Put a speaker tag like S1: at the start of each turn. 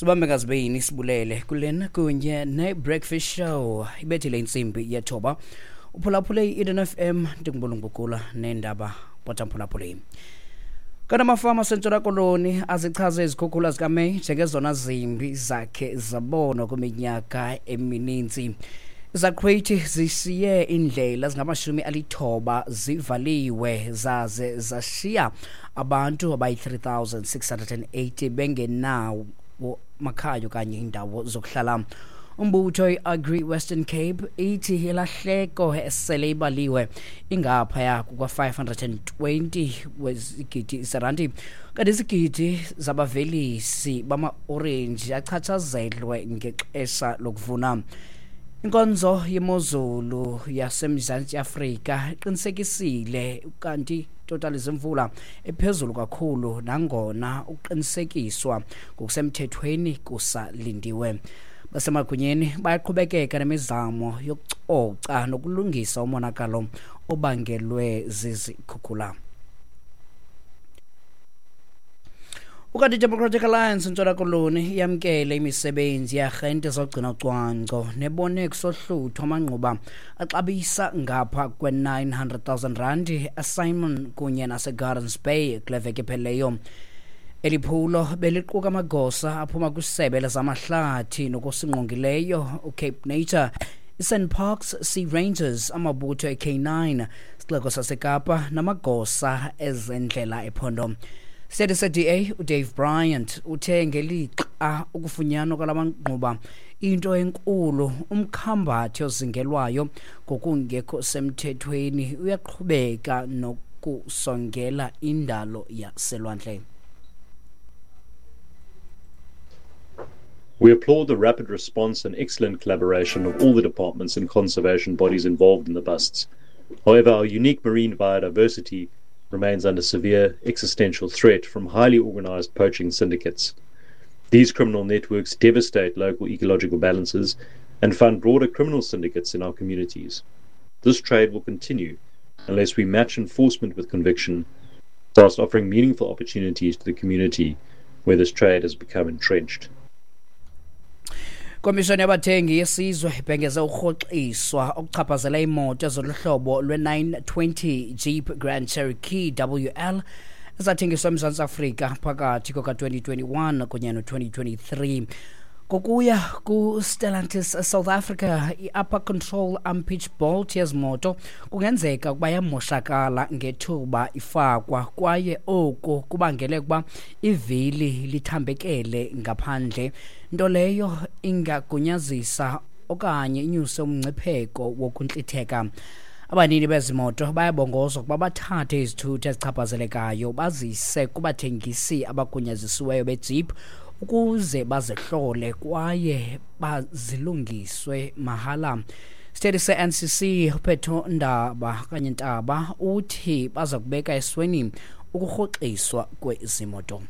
S1: Sibambe ngazibini sibulele kulena kunye ne-Breakfast Show. Ibethile intsimbi yethoba. Uphulaphule i-Eden FM, ndingubulungubukula neendaba potamphulaphuleni. Kanti amafama aseNtshona Koloni azichaze izikhukhula zikaMeyi njengezona zimbi zakhe zabonwa kwiminyaka emininzi. Izaqhwithi zishiye iindlela zingama-90 zivaliwe zaze zashiya abantu abayi-3680 bengenawo makhaya okanye iindawo zokuhlala. Umbutho i-Agri Western Cape ithi ilahleko esele ibaliwe ingaphaya kuka-520 wezigidi zeranti, kanti izigidi zabavelisi bama-orenji achatshazelwe ngexesha lokuvuna. Inkonzo yemozulu yaseMzantsi Afrika iqinisekisile kanti totali zemvula ephezulu kakhulu, nangona ukuqinisekiswa ngokusemthethweni kusalindiwe. Basemagunyeni bayaqhubekeka nemizamo yokucoca nokulungisa umonakalo obangelwe zizikhukhula. Ukanti iDemocratic Alliance eNtshona Koloni yamkele imisebenzi yearhente zogcina ucwangco nebone kusohluthwa amangquba axabisa ngapha kwe-900,000 rand eSimon kunye naseGardens Bay kule veki ephelileyo. Eli phulo beliquka amagosa aphuma kwisebe lezamahlathi nokusingqongileyo uCape Nature, iSand Parks Sea Rangers, amabutho eK9, sixeko saseKapa namagosa ezendlela ephondo. Isithethi se-DA uDave Bryant uthe ngelixa ukufunyanwa kwala mangquba into enkulu, umkhambathi ozingelwayo ngokungekho semthethweni uyaqhubeka nokusongela indalo yaselwandle.
S2: We applaud the rapid response and excellent collaboration of all the departments and conservation bodies involved in the busts. However, our unique marine biodiversity remains under severe existential threat from highly organized poaching syndicates. These criminal networks devastate local ecological balances and fund broader criminal syndicates in our communities. This trade will continue unless we match enforcement with conviction, whilst offering meaningful opportunities to the community where this trade has become entrenched.
S1: Komishoni yabathengi yesizwe ibhengeze ukurhoxiswa okuchaphazela iimoto zoluhlobo lwe-920 Jeep Grand Cherokee WL ezathengiswa eMzantsi Afrika phakathi kuka-2021 kunye no-2023. Ngokuya ku-Stellantis South Africa, i-upper control armpitch bolt yezi moto kungenzeka ukuba yamoshakala ngethuba ifakwa, kwaye oku kubangele ukuba ivili lithambekele ngaphandle, nto leyo ingagunyazisa okanye inyuse umngcipheko wokuntlitheka. Abanini bezi moto bayabongozwa ukuba bathathe izithuthi ezichaphazelekayo bazise kubathengisi abagunyazisiweyo beJeep ukuze bazihlole kwaye bazilungiswe mahala. Isithethi se-NCC uPhetho Ndaba okanye Ntaba uthi baza kubeka esweni ukurhoxiswa kwezi moto.